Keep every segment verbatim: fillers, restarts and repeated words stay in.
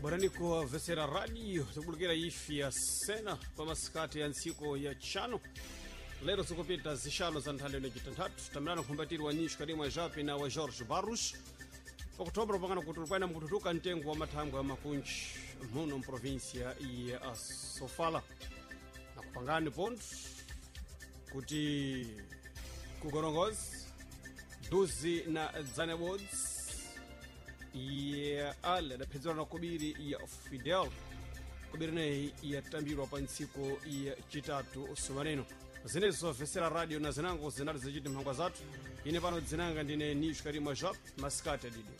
Bwaraniko vesera radio tikubulukira ifi ya sena pamasikati ya ntsiku ya tchano lero zikupita zixano za nthanda ino citanthatu tamirano nkhumbatirwa nyixo kalimwa japi na wa Jorge Barros okutobra pakana kuti ulikwena mkututuka mtengo wa mathangwe ya makunji muno mprovinsia ya Sofala nakupangani ponto kuti kugorongozi duzi na dzanebodzi ya ale adaphedzerwa na kubiri ya Fidel kubiri neyi yatambirwa pa ntsiku ya chitatu sumaneno zinezo zobvesera radio na zinango zinali zichiti mphangwa zathu ine pano dzinanga ndine nisho karimwa jop masikati adidi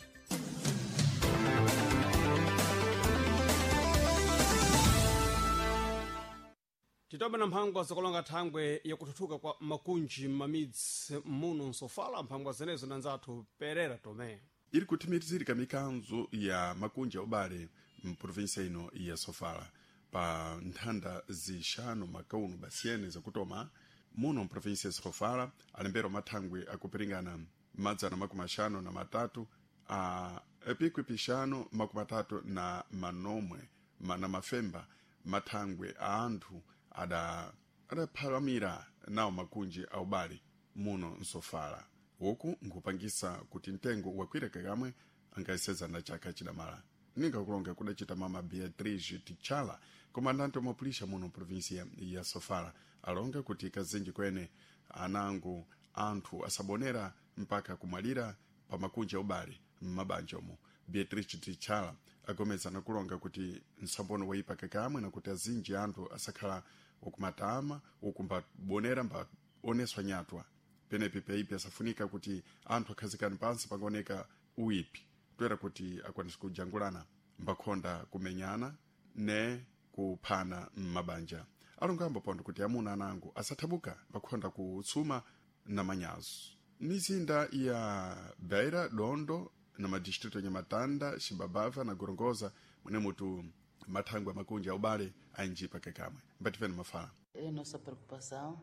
titobe na mphangwa zakulonga thangwe yakuthuthuka kwa makunji m'mamidzi muno nsofala mphangwa zenezo na nzathu Perera Tomé Iri kuthimirizirika mikanzo ya makunji a ubale mprovinsia ino ya Sofala pa nthanda zixanu makauno basiyene zakutoma muno mprovinsia ya Sofala alembera mathangwe akupiringana madzana makumi axanu na matatu a pikwi pixanu makumi atatu na manomwe ma- na mafemba mathangwe a anthu ada adaphalamira nawo makunji a ubale muno msofala uku nkupangisa kuti mtengo wakwireka kamwe angaiseza na chaka chidamala ninga kulonga kudacita mama Beatriz Tichala komandante wa mapulisha muno provinsia ya Sofala alonga kuti kazinji kwene anangu anthu asabonera mpaka kumwalira pa makunji a ubale m'mabanja omo Beatriz Tichala agomeza nakulonga kuti nsambono waipa kakamwe nakuti azinji anthu asakhala ukumatama ukumbabonera mbaoneswa nyatwa penepi peipi asafunika kuti anthu akhazikane pansi pangaoneka uipi toera kuti akwanise kujangulana mbakhonda kumenyana ne kuphana m'mabanja alongambo pondo kuti amuna anangu asathabuka mbakhonda kutsuma na manyazo mizinda ya Beira Dondo na madistrito ya Nhamatanda Xibabava na Gorongosa mwene mutu mathangwe makunji a ubale ainjipa kekamwe mbativeni mafala É a nossa preocupação.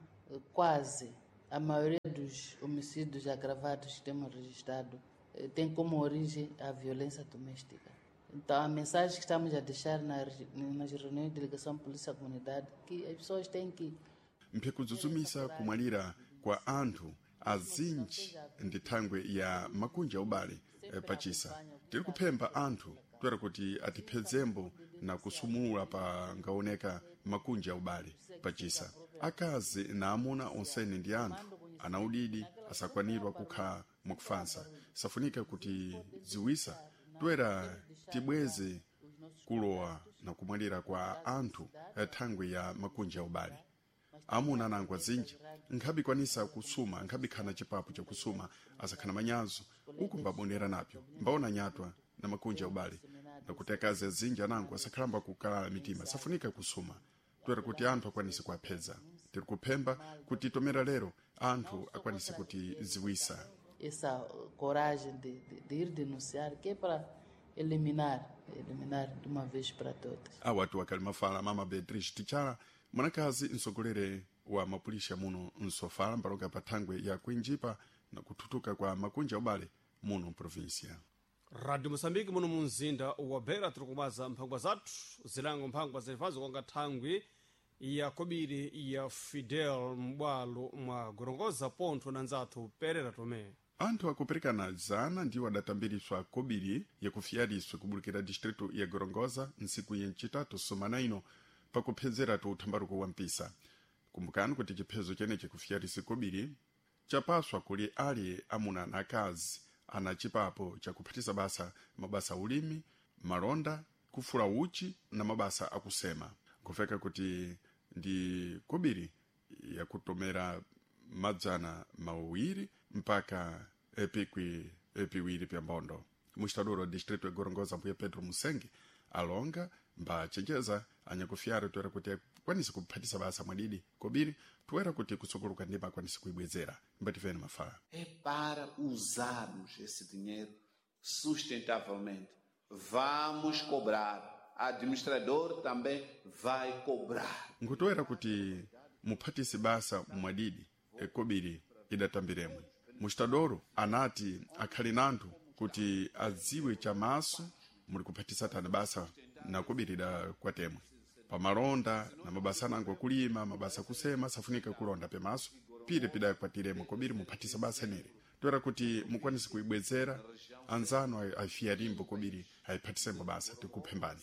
Quase a maioria dos homicídios agravados que temos registrado eh, tem como origem a violência doméstica. Então, a mensagem que estamos a deixar na re- nas reuniões de delegação polícia comunidade que as pessoas têm que mphikudzudzumisa kumwalira kwa anthu azinji ndi thangwe ya makunji a ubale eh, pachisa tiri kuphemba anthu toera kuti atiphedzembo na kusumula pa ngaoneka makunji a ubale pachisa akazi na amuna onsene ndi anthu ana udidi asakwanirwa kukhala mwakufansa safunika kuti ziwisa toera tibweze kulowa na kumwalira kwa anthu eh, thangwe ya makunji a ubale amuna anango azinji nkhabikwanisa kusuma nkhabikhana chipapu chakusuma asakhana manyazo uku mbabonera napyo mbaona nyatwa na makunji a ubale nakuti akazi azinji anango asakhalamba kukalala mitima safunika kusuma toera kuti anthu akwanise kuaphedza tiri kuphemba kuti tomera lero anthu akwanise kuti ziwisa essa coragem de, de, de ir denunciar, que é para eliminar, eliminar de uma vez para todas. awatu akali mafala mama Beatriz Tichala mwanakazi msogolere wa mapulisha muno msofala mbalonga pa thangwe ya kuinjipa na kuthutuka kwa makunji a ubale muno mprovinsia Radio Moçambique muno mu mzinda wa Beira tiri kumaza mphangwa zathu zilango mphangwa zilifazo konga thangwi ya kobiri ya Fidel m'bwalo mwa Gorongosa pontho na nzathu Perera Tomé anthu akuperekana zana ndiwo adatambiriswa kobiri yakufiyaliswa kubulukira distrito ya Gorongosa ntsiku ya ncitatu sumana ino pakuphedzeratu uthambaruko wa mpisa kumbukani kuti chiphezo chenechi kufiyalisi kobiri chapaswa kuli ali amuna na akazi ana chipapo chakuphatisa basa mabasa ulimi malonda kufula uchi na mabasa akusema nkufeka kuti ndi kobiri yakutomera madzana mawiri mpaka epikwi epiwiri pya mbondo mustaduro wa distrito ya Gorongosa mbuye Pedro Musenge alonga mbachenjeza anyakufyaro toera kuti akwanise kuphatisa basa mwadidi kobiri toera kuti kusukuluka ndima akwanise kuibwezera mbativeni mafala É para usarmos esse dinheiro sustentavelmente. Vamos cobrar. Administrador também vai cobrar. nkutoera kuti muphatise basa mwadidi ekobiri idatambiremwe mustadoro anati akhali nanthu kuti adziwe chamaso muli kuphatisa tani basa nakubirira kwa temwe pamalonda na mabasa anango akulima mabasa akusema safunika kulonda pemaso pire pidakwatiremo kobiri muphatisa basa nere toera kuti mukwanise kuibwezera anzano afiyarimbo kobiri ayiphathisembo basa tikuphembani.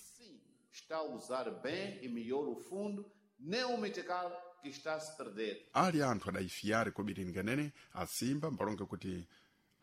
Está a usar bem e melhor o fundo, nem o metical que está a se perder. Ali anthu adayifiyare kobiri nganene asimba mbalonga kuti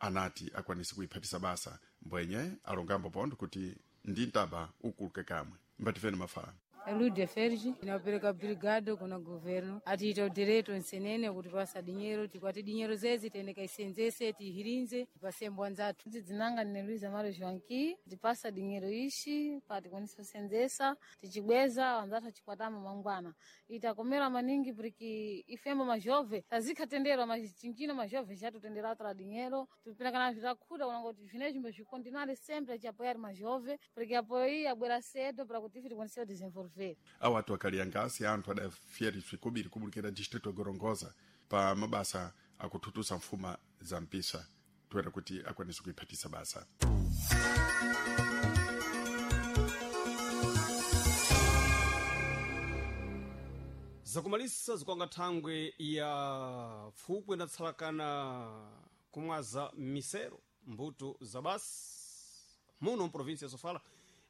anati akwanise kuiphatisa basa mbwenye alongambo pondo kuti ndi ntaba ukuluke kamwe mbatifeni mafala. Lude Ferji inapereka brigado kuna governo atiita direto nsenene kuti pasa dinyero tikwati dinyero zezi tiende kaisenzese tihirinze tipasembo anzathu Dzinanga ndine Luiza Maro Joanqui tipasa dinyero ishi pa tikwanisa kusenzesa tichibweza anzathu achikwatama mangwana itakomera maningi porque ifembo majove tazikhatenderwa machinchino majove chatutendera atra dinyero tupinakana vitakhuta kunanga kuti zvinezvi mbozvikontinare sempre achiapoyari majove porque apoyi abwera cedo para kuti ife tikwanise kudesenvolver. Awo atu akaliyangasi anthu adafiyariswe kobiri kubulikira distrito ya Gorongosa pa mabasa akuthuthusa mfuma za mpisa toera kuti akwanise kuiphatisa basa. Zakumalisa zikwanga thangwe ya pfukwe inatsalakana kumwaza misero mbuto za basi muno mprovinsi ya Sofala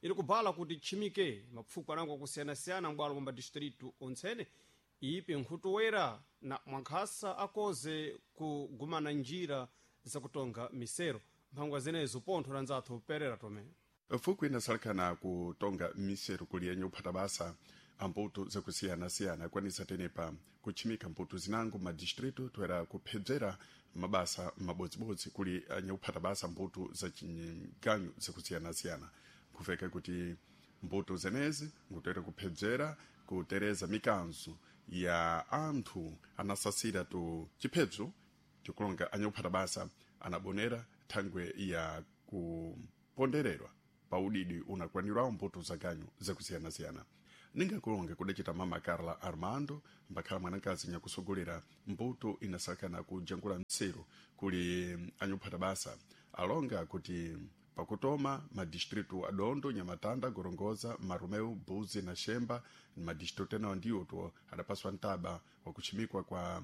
ili kubala kuti tchimike mapfukwe anango akusiyana-siyana m'bwalo mwa madistritu ontsene ipe nkhutuwera na mwankhasa akoze kugumana njira zakutonga misero mphangwa zenezo pontho la nzathu Perera Tome. Pfukwe inasalakana kutonga misero kuli yenye uphata basa ambuto zakusiyana-siyana akwanisa tenepa kutchimika mbuto zinango madistritu toera kuphedzera mabasa mabodzibodzi kuli anyakuphata basa mbuto za chinganyu zakusiyana-siyana kuveka kuti mbuto zenezi ngutoera kuphedzera kutereza mikanzo ya anthu anasasira tu chiphedzo tikulonga anyakuphata basa anabonera thangwe ya kupondererwa pa udidi unakwanirawo mbuto za ganyu zakusiyana-siyana. Ningakulonga kudacita mama Carla Armando mbakhala mwanakazi nyakusogolera mbuto inasakana kujangula mseru kuli anyuphata basa alonga kuti pakutoma madistritu adondo Nyamatanda, Gorongosa, Marumeu, Buzi na Shemba madistritu enawo ndiwo to adapaswa ntaba wakuchimikwa kwa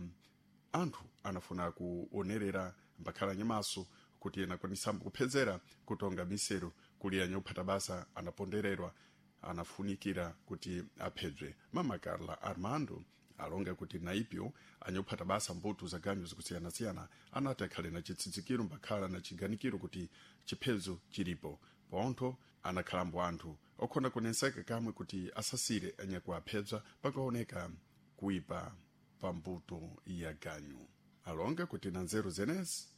anthu anafuna kuonerera mbakhala nyamaso kuti anakwanisambo kuphedzera kutonga miseru kuli anyuphata basa anapondererwa anafunikira kuti aphedzwe. Mama Carla Armando alonga kuti naipyo anyophata basa mbuto za ganyu zikusiyana-siyana anati akhale na chitsitsikiro mbakhala na chiganikiro kuti chiphedzo chilipo pontho anakhalambo anthu okhona kunenseka kamwe kuti asasire anyakuaphedza pakaoneka kuipa pa mbuto ya ganyu. Alonga kuti na nzeru zenezi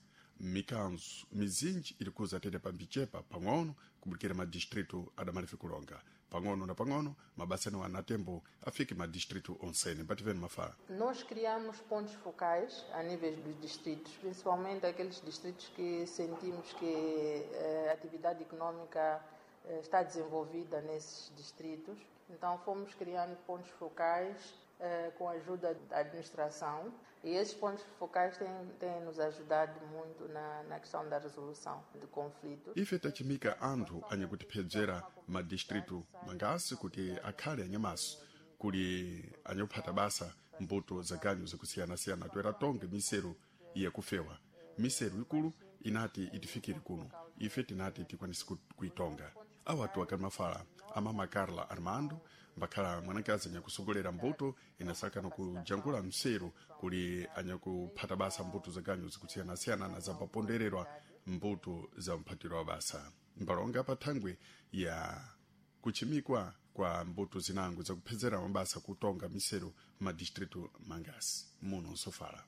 mikanzo mizinji ili kuza tete pambichepa pang'ono kubulikira madistritu adamalife kulonga pang'ono na pang'ono mabasa anewo anatembo afike madistritu onsene mbativeni mafala. Nós criamos pontos focais a nível dos distritos, principalmente aqueles distritos que sentimos que eh, a atividade econômica eh, está desenvolvida nesses distritos. Então fomos criando pontos focais eh, com a ajuda da administração e esses pontos focais têm, têm nos ajudado muito na, na questão da resolução de conflitos. Ife tachimika anthu anyakutiphedzera madistritu mangasi kuti akhale anyamaso kuli anyakuphata basa mbuto za ganyu zakusiyana-siyana toera tonge miseru yakufewa miseru ikulu inati itifikire kuno ife tinati tikwanise kuitonga. Awatu akamafala amama Carla Armando mbakhala mwanakazi anyakusogolera mbuto inasakana kujangula mseru kuli anyakuphata basa mbuto za ganyu zikusiyana-siyana na zapapondererwa mbuto za mphatiro wa basa mbalonga pa thangwe ya kuchimikwa kwa mbuto zinango zakuphedzera mabasa kutonga miseru madistritu mangasi muno Sofala.